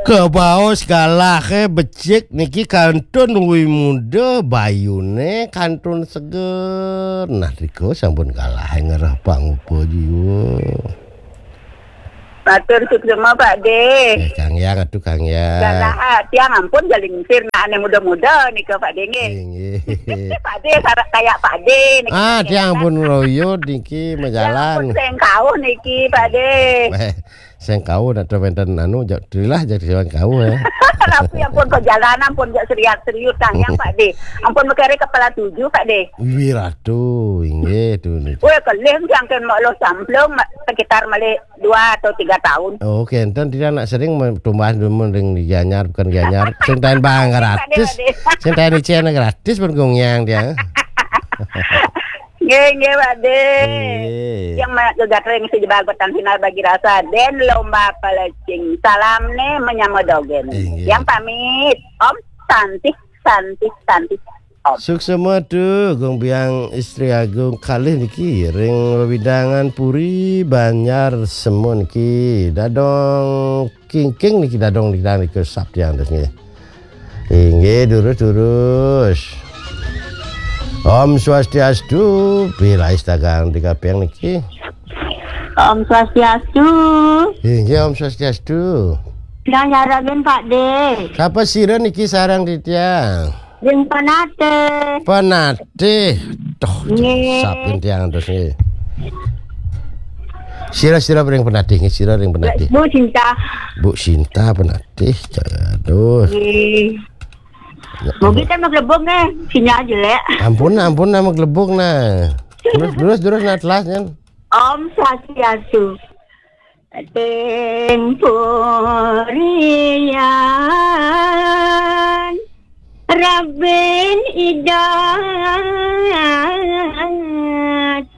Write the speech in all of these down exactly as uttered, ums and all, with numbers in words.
Kebaos galahe becik niki kantun wimuda, bayune kantun seger. Nah, rika sampun galah ngereh pangupa jiwa. Matur suksma, Pak De. Eh, Kang Yang, atuh Kang Yang. Galah, tiang ampun jalingsir, nah, ane muda-muda nika, Pak De, nggih. Inggih. Pak De, sarak kayak Pak De niki. Ah, tiang ampun royot niki. Tiang ampun majalan. Sengkauh niki, Pak De. Eh, sengkauh nak wenten anu, jak trilah, jak sengkauh, ya. Tapi ampun perjalanan pun jak seriat-seriut, Kang Yang, Pak De. Ampun mekere kepala tujuh, Pak De. Wiratu, inggih, tuh, nih. Weh, kelih, Kang, kan mak lo samplung, ma-, sekitar malih dua atau tiga tahun. Oh, kenten tidak nak sering me-, tumbas dulu ring di Gianyar, bukan Gianyar. Sing tain bang gratis. Sing tain icen gratis pun gongyang dia. Nggih, nggih, Pak De. Nggih. Yang mana gegat ring si jebal petang final bagi rasa. Den lomba pelecing. Salam nih menyama dogen. Nggih. Yang pamit, Om Santi, Santi, Santi. Suksma tu, Gung Biang Istri Agung kalih niki ring wewidangan Puri Banjar Semun niki. Dadong kingking niki, dadong niki, niki sap tiang terus nggih. Inggih, durus, durus. Om Swastiastu, pirai stagang di kapeng niki. Om Swastiastu. Inggih, Om Swastiastu. Yang nyaragin, Pak De. Sapa sira niki sareng titiang? Ring Penatih. Penatih. Toh, nggih. Sapin tiang terus nggih. Sira-sira ring Penatih nggih, sira ring Penatih. Bu Cinta. Bu Cinta Penatih. Aduh. Nggih. Ya, Bogi kan maglebung nih, sinyal jelek. Ampun, ampun, nama gelebung nah. Terus, terus, terus, nah, telas, nyen. Om Swastiastu. Ting purian Rabin Ida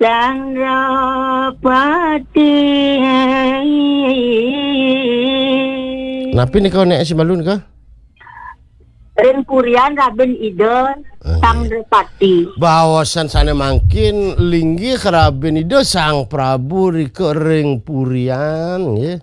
Sang Rapati. Napi nika nek si malu nika? Ring purian Rabin Ida Sang Drepati. Baosan sane mangkin linggih Rabin Ida Sang Prabu rika ring purian, nggih.